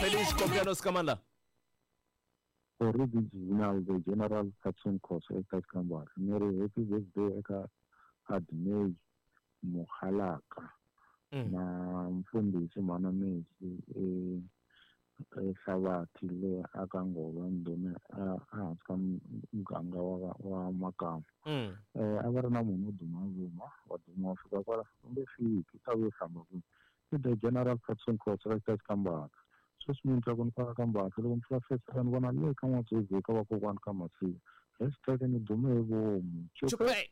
Feliz cumpleaños kamala. Original the General Patson Khoso eka Xikambara. Ni ri happy birthday eka Admay Mokgalaka na mfundhisi Mhana Messi e eHlavathi le aka Ngova Ndhuma ehansi ka muganga wa Makamu. A va ri na munhu wo duma vuma wa duma wa fika kwala u nge fiki u ta vuya u hlamba kwini. I the General Patson Khoso ka Xikambara. Sweswi mi ni twa ku ni faka ka Mbatha loko ni pfula Facebook ni vona le ka N'watswezi ka vakokwani ka Masiya. Hashtag ni dume hi vomu. Chupe.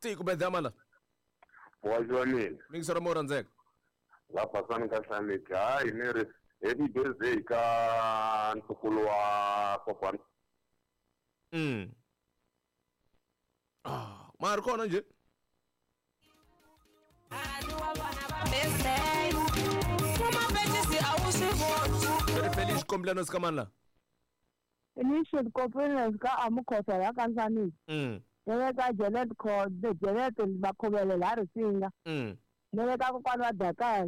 Ti ku bedza mala. Wa mina. Mingisero mo rhandzeka. La pasani ka hlaneki. Hayi ni ri happy birthday ka ntukulu wa kokwani. Ah, ma ri kona nje. Feliz cumpleaños ka mani la? Feliz cumpleaños ka Amukhosa la ka Nsanisi. Ni le ka Janet Janet Makhuvele la Risinga. Ni le ka kokwani wa Dakar.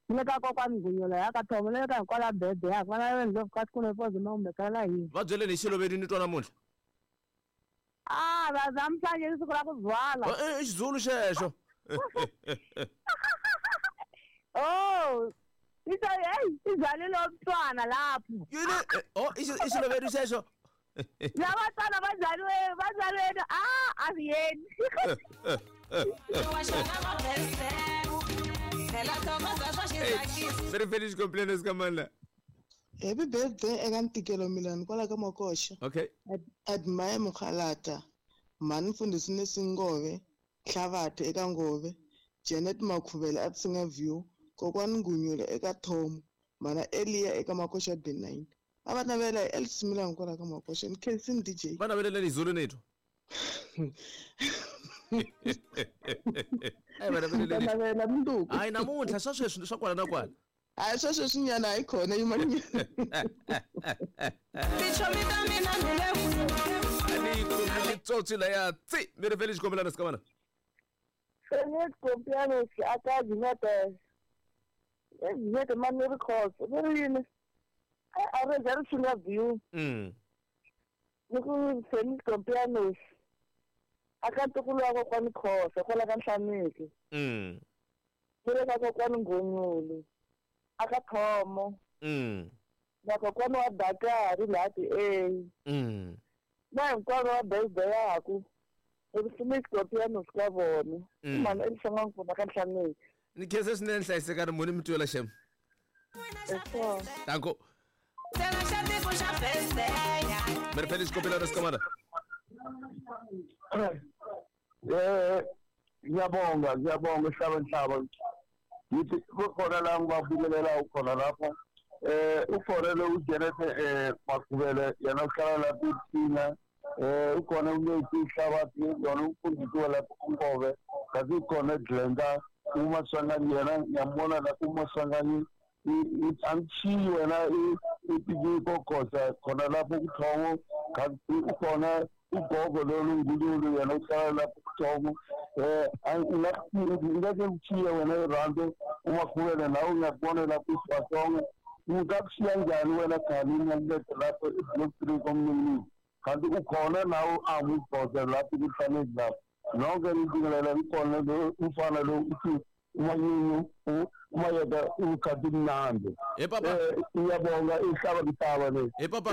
Ni le ka kokwani Ngunyula ya ka Thomo, ni le ka hinkwala bebe ya vana va ndlovu ka siku lepo zima kumbe la hina. Va byeleni hi xiloveni ni twa namuntlha. Ah, va namhlanje i siku ra ku zwala. I Xizulu xexo. Oh, hey, izalile umntwana lapho. Yini? Oh, ixiloveni xexo. Labatwana bazaliwe ah, asiyeni. Very feliz cumpleaños ka mani la? Happy birthday eka Ntikelo Milani kwala ka Makoxa. Okay. Admire Mokgalata, Mhani Mfundhisi Nesingove, Hlavathe eka Ngove, Janet Makhuvele a Tsinga View, Kokwani Ngunyula eka Thomo, Mhana Eliya eka Makoxa B9. A va navela hi Elsie Milani kwala ka Makoxa. Ni khensini DJ. Va naveleleni hi Zulu ni twa. Ai va naveleleni. Navela mundzuku. Hayi namuntlha swa sweswi swa kwala na kwala. Hayi swa sweswinyana hayi khona yimanyana. Ani ku mitsotsi laya tsi mi ri feliz cumpleaños ka mana. Feliz cumpleaños aka Jinete. Jinete mani ri Khoso. Ni ri yini? A ri za ri Tsinga View. Ni ku feliz cumpleaños aka ntukulu wa kokwani Khoso kwala ka Nhlaneki. Ni le ka kokwani Ngunyulu aka Thomo. Na kokwani wa Dakar la ti A. Na hinkwavo va birthday yaku. Feliz cumpleaños ka vona. Mhani Elisa ka Nhlaneki. Ni khensa swinene hlayisekani muni mi twela xem. Danko. Mi ri feliz cumpleaños ka mana? Ngiyabonga hlaba nhlaba. Ngithi kukhona la ngibabukelela ukhona lapha. Ukhona lo uJanet Makhuvele yena uhlala lapha eThina. Ukhona uMetsi Hlabathi yona umfundisi walapha uNkobe. Kanti ukhona Glenda uMaswanganyi yena ngiyambona lapha uMaswanganyi angishiyi wena ipiki kokhosa khona lapho kuThongo. Kanti ukhona ugogo lolu Ngululu yena uhlala lapho kuThongo. Ngeke ngikuchiye wena eRando uMakhuvele nawe ngiyakubona lapho isibasongo. Ungakushiya njani wena khani ngiyakuletha lapho e-block 3 komnini. Kanti ukhona nawe amubhoze lapho kuhlaneki lapho. Nonke ngibingelela ukhona lo umfana lo uthi umanyunyu umayeka ukhathi mnandi. Hey papa. Ngiyabonga ihlaba mhlaba le. Hey papa.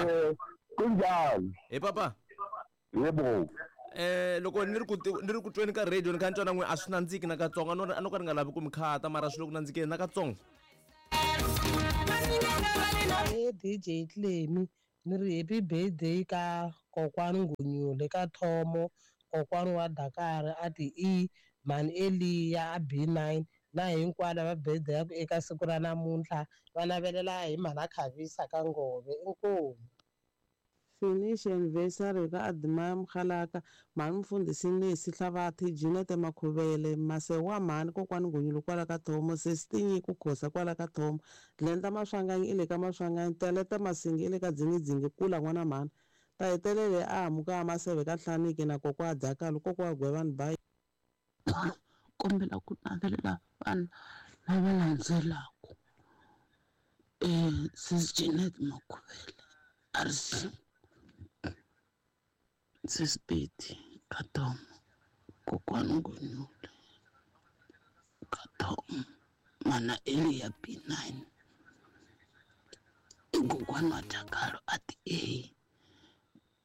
Kunjani? Hey papa. Yebo. Loko ni ri ku tweni ka radio ni kha ni twa na n'we a swi nandziki na katsongo a no ka ni nga lavi ku mi khata mara swi le ku nandzikeni na katsongo. Hey DJ Clemi ni ri happy birthday ka kokwani Ngunyule ka Thomo, kokwani wa Dakar a ti E, Mhani Eliya a B9 na hinkwavo va birthday yaku eka siku ra namuntlha va navelela hi Mhana Khavisa ka Ngove. Inkomu. Finish anniversary ka Admire Mokgalaka, Mhani Mfundhisi Nesi Hlavathe, Janet Makhuvele, Masewa Mhani kokwani Ngunyulu kwala ka Thomo, Sesi Tinyiko Khosa kwala ka Thomo, Glenda Maswanganyi i le ka Maswanganyi, Teleta Masingi i le ka Dzingidzingi kula n'wana mhani. Ta hetelele a hamuka a Maseve ka Nhlaneki na kokwa Dakar kokwa Gwevani bayi. Kombela ku navelela vanhu lava landzelaka. Sis Jeanette Makhuvele RC, Sis Betty Katomo, Kokwani Ngonyule Katomo, Mana Elia B9, i kokwana wa Dakalo a ti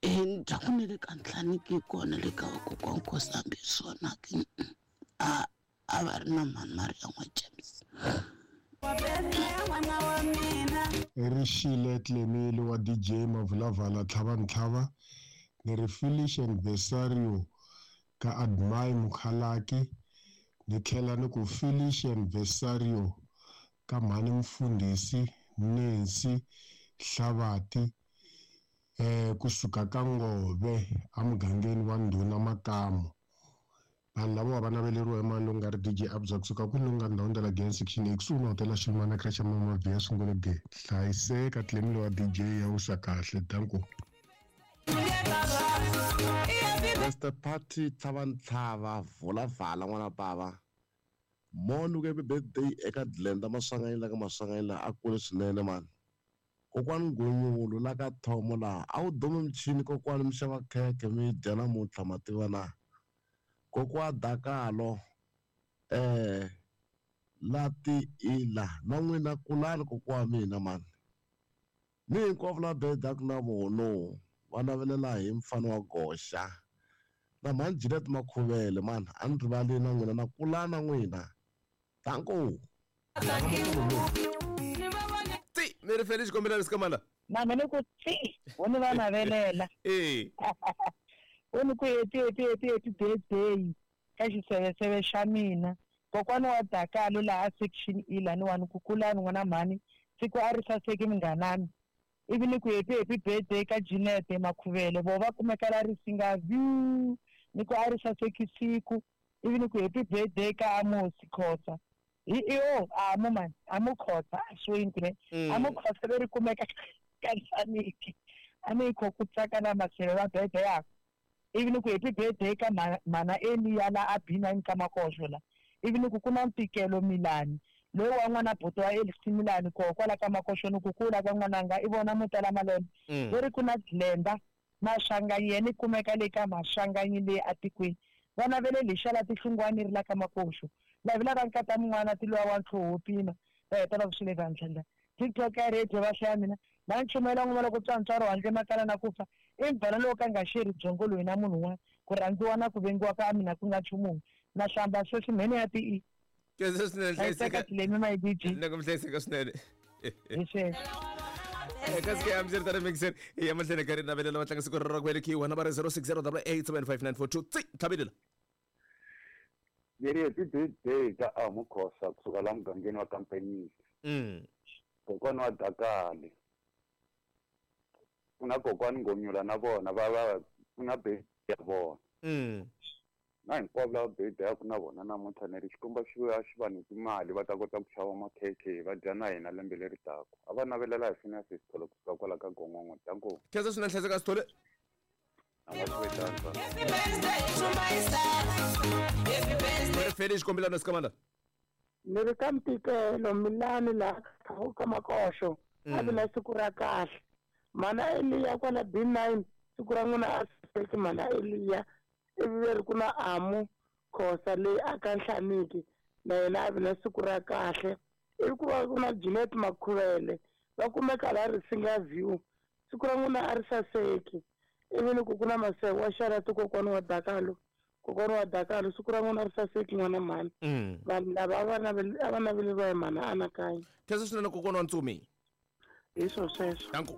A. Ni twa ku ni le ka Nhlaniki kona le ka vakokwana Nkosi hambi swona ke a a va ri na mhani Maria n'wa James. Rixile Tlemile wa DJ Mavulavala Tlhavantlhava ni ri Felicia Anniversario ka Admire Mukhalaki ni tlhela ni ku Felicia Anniversario ka mhani Mfundhisi Nancy Hlavati kusuka ka Ngove emugangeni wa Ndhuna Makamu. Vanhu lava va naveleriwa hi mani lowu nga ri DJ Abza kusuka kwini lowu nga ndhawini ta la Giyani Section A kusuhi na hotela Xilumana Crash Mama Via Sungule Ge. Hlayiseka Tlemile wa DJ ya wisa kahle. Danko. Mr Party Tlhavantlhava vula vala n'wana bava moni ku happy birthday eka Glenda Maswanganyi la ka Maswanganyi la a kule swinene mani kokwani Ngonyulu la ka Thomo laha a wu dumi michini kokwani mi xava khekhe mi dya namuntlha mativa na kokwa Dakalo la ti ila na n'wina kulani kokwa wa mina mani ni hinkwavo la bedaku na vono va navelela hi mfano wa goxa na mhani Jeanette Makhuvele mani a ni rivali na n'wina na kula na n'wina danko ti mi ri feli xikombelo lexi kamala na mina ku ti wo ni va navelela wo ni ku happy happy happy happy birthday ka xiseveseve xa mina kokwana wa Dakalo laha section E laniwani ku kulani n'wana mhani siku a ri saseki munghanami ivi ni ku happy happy birthday ka Jeanette Makhuvele vo va kumeka la Risinga View ni ku a ri saseki siku ivi ni ku happy birthday ka Amos Khosa hi iyo amo mani amo Khosa a swi ne amo Khosa leri kumeka ka Nhlaniki a ni kho ku tsaka na masele va birthday yakwe ivi ni ku happy birthday ka mana Elia la a B9 ka Makoxo la ivi ni ku ku na ntikelo Milani loyi wa n'wana buti wa Elisi Milani koho kwala ka Makoxo ni ku kula ka n'wananga i vona mo tala malembe leri ku na Glenda Maswanganyi yena i kumeka le ka Maswanganyi leyi atikweni va navele lexa la tihlungwani ri la ka Makoxo lavi lava nkata mun'wana ti luwa wa ntlhoho pima va heta va ku swi le vandla TikTok ya radio va hlaya mina va nchumayela n'wana loko tswantswaro handle makala na ku fa i mbhana lowu ka nga xeri byongo loyi na munhu un'wana ku rhandziwa na ku vengiwa ka mina ku nga nchumu na hlamba sweswi mhene ya ti i Khensa swinene hlayiseka Tlemi my DJ na ku mi hlayiseka swinene hi sweswo kasi ke amseri tare mixer ya mahleni ka ri navelela va tlanga siku ra ku velekiwa na va ri 0608875942 tsi tlhavelela Leri happy birthday ka Amo Khosa kusuka la mugangeni wa Kampenyisi kokwana wa Dakale ku na kokwani Ngonyula na vona va va ku na birthday ya vona na hinkwavo lava birthday ya ku na vona namuntlha ni ri xikomba xi vuya xi va nyiki mali va ta kota ku xava makhekhe va dya na hina lembe leri taka a va navelela hi Phineas Sithole kusuka kwala ka Gongongo danko Khensa swinene hlayiseka Sithole ri feli xikombelano sikamala ni ri ka ntikelo Milani laha ka Makoxo a vi na siku ra kahle mana Elia kwala B9 siku ra n'wina a saseki mana Elia ivi ve ri ku na Amu Khosa leyi a ka Nhlaniki na yena a vi na siku ra kahle ivi ku va ku na Jeanette Makhuvele va kumeka la Risinga View siku ra n'wina a ri saseki ivi ni ku ku na Masego wa Xarati kokwana wa Dakalo kokwana wa Dakalo siku ra n'wina ri saseki n'wana mhani vanhu lava a va naveleriwa hi mhana anakanya Khensa swinene kokwana wa Ntsumi hi swo sweswo danko.